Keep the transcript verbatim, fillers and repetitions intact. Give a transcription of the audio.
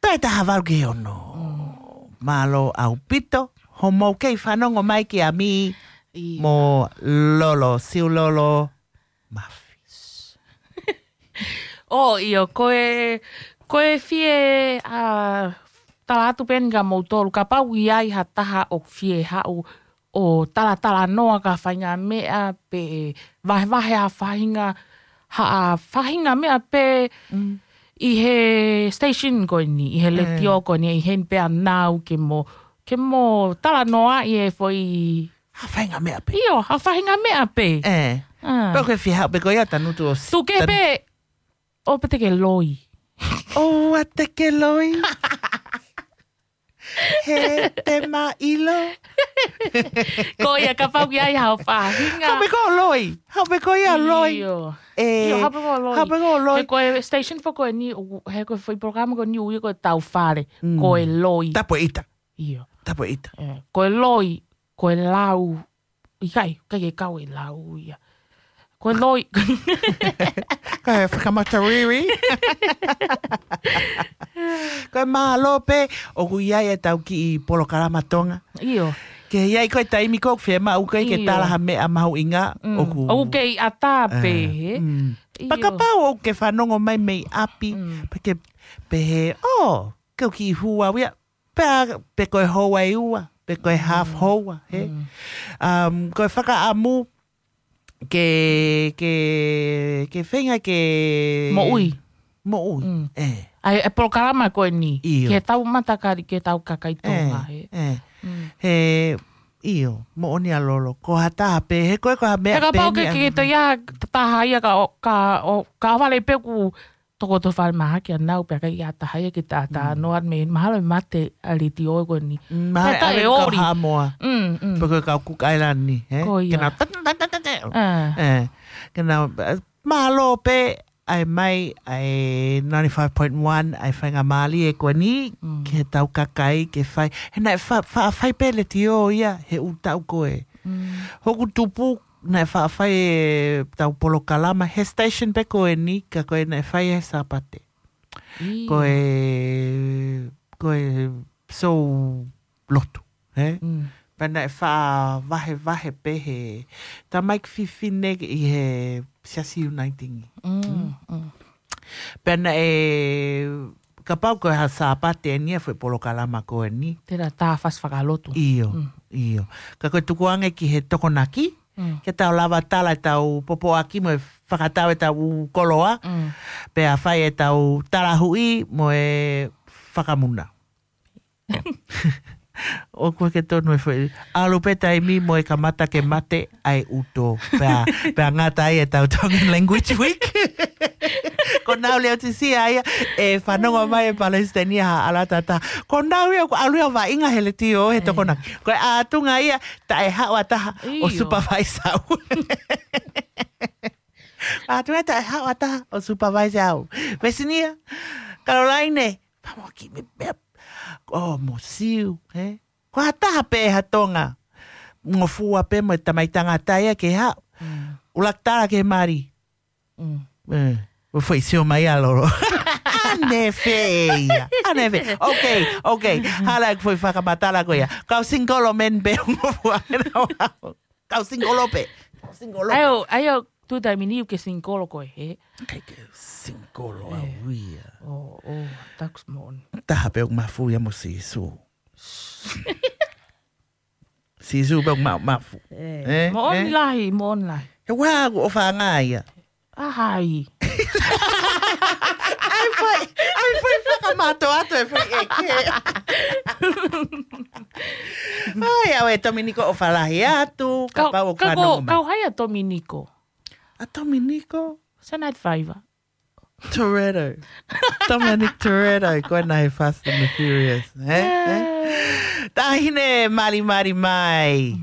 Toe taha valu ki he ono. Mālō ʻaupito hoʻomou kei fanongo mai kia Mī mo Lolo, Siulolo Mafi. ʻIo, ko e, ko e fie, ʻa, tala atu pē eni kia moutolu, kapau ʻoku ʻi ai ha taha ʻoku fie haʻu ʻo talatalanoa ki ha faʻahinga meʻa pe vahevahe ha faʻahinga, ha faʻahinga meʻa pē ʻi he station ko eni, ʻi he letiō ko eni, ʻi heni pē ʻa nau ke mo, ke mo talanoaʻi e foʻi ha faʻahinga meʻa pē. ʻIo, ha faʻahinga meʻa pē. Pea ko e fie haʻu pē ko ia Tanutu ʻo s-, tuku ke pē, ʻoua te ke loi. ʻOua te ke loi. He te ma ʻilo. Ko ia, kapau ʻoku ʻi ai ha faʻahinga. Haʻu pē koe ʻo loi. Haʻu pē koe ia ʻo loi. ʻIo. ʻIo, haʻu pē koe ʻo loi. Haʻu pē koe ʻo loi. He ko e station foʻou ko eni, he ko e foʻi polokalama ko eni ʻoku ui ko e Tau Fale. Ko e loi. Tapu e ʻita. ʻIo. Tapu e ʻita. Ko e loi, ko e lau, ʻikai, ʻikai ke kau e lau ia. Ko e loi. Ko e fakamata riri. Ko e mālō pē, ʻoku ʻi ai e tau kiʻi polokalama Tonga. ʻIo. Ke ʻi ai ko e taimi ko ē ʻoku fiemaʻu ko ē ke tala ha meʻa mahuʻinga, ʻoku kei ʻatā pē, he? Pea kapau ʻoku ke fanongo mai mei ʻapi, pea ke pehē, ʻō, ke u kiʻi hū au ia. Pea, pe ko e houa ʻe ua, pe ko e half hour, he? Ko e fakaʻamu ke, ke, ke feinga ke moʻui. Moʻui, ʻe. ʻA e polokalama ko eni, ʻio, ke tau matakali, ke tau kakai Tonga, he? He, ʻio, moʻoni ʻa Lolo. Ko ha taha pē, he ko e, ko ha meʻa pē ni ʻa. He kapau ke, ke te ia taha ia ka, ka, ka vale pē ʻoku toko to fale maha kia nau pea ʻikai ha taha ia ke ta, ta noa me mahalo e mate ʻa e letiō ko eni. Mahalo e ʻave kau Haʻamoa. Pe ko e kau Cook Island ni, he? Ko ia. Ke nau ta, ta, ta, ta, ta. Ke nau, mālō pē, ʻai mai, ʻai ninety-five point one, ʻai faingamālie ko eni, ke tau kakai, ke fai. He naʻe fa, fa, fai pē letiō ia, he ʻū taʻu ko ē. Hoku tupu, naʻe faʻa fai e tau polokalama he station pē ko eni, ka ko e naʻe fai he Sāpate. Ko e, ko e sou lotu, he? Pea naʻe faʻa vahevahe pē he tamaiki fefine ʻi he Siasi Uniting. Pea naʻe, kapau ko e ha Sāpate eni ʻa e foʻi polokalama ko eni. Tera tā fasi fakalotu. ʻIo, ʻio. Ka ko e tukuange ki he Tokonaki, ke tau lava tala e tau popoaki mo e fakatau e tau koloa, pea fai e tau talahuʻi mo e fakamuna. ʻOku ʻikai ke tonu e foʻi. ʻAlu pē taimi mo e kamata ke mate ʻa e ʻuto. Pea, pea ngata ai e tau Tongan Language Week. Ko Nau Leotisia ia, ʻe fanongo mai e palesiteni ʻa Alatata. Ko Nau ia ʻoku ʻalu ia ʻo vaʻinga he letiō he Tokonaki. Ko e ʻatunga ia, taʻe haʻu ha taha ʻo supervise au. ʻAtunga taʻe haʻu ha taha ʻo supervise au. Vesinia, Kalolaine, pamo ki me, me, ʻo mo Siu, he? Ko ha taha pē ha Tonga. Ngofua pē mo e tamai tangata ia ke haʻu. ʻUluaki tala ke mali. ʻE, ʻo foʻi sio mai ʻa Lolo. ʻAnefē ia. ʻAnefē. Ok, ok. Hala ʻeku foʻi fakamatala ko ia. Kau singolo men pē ʻo ngofua. Kau singolo pē. Kau singolo pē. ʻAi ʻo, ʻai ʻo, tuʻu taimi ni ʻoku ke singolo koe, he? ʻIkai ke singolo au ia. ʻO, ʻo, taku moʻoni. Taha pē ʻoku mafu ia mo Sīsū. Sīsū pē ʻoku ma, mafu. ʻE, moʻoni lahi, moʻoni lahi. He ʻoku ʻofa ange ia. ʻAhai. ʻAi foʻi, ʻai foʻi fakamātoato e foʻi ʻeke. ʻAi, ʻauē Tominiko ʻofa lahi atu, kapau ʻoku fanongo mai. Kau hai ʻa Tominiko? ʻA Tominiko? Senate five. Toretto. Dominic Toretto, ko ena he Fast and the Furious. He? He? Taʻahine malimali mai.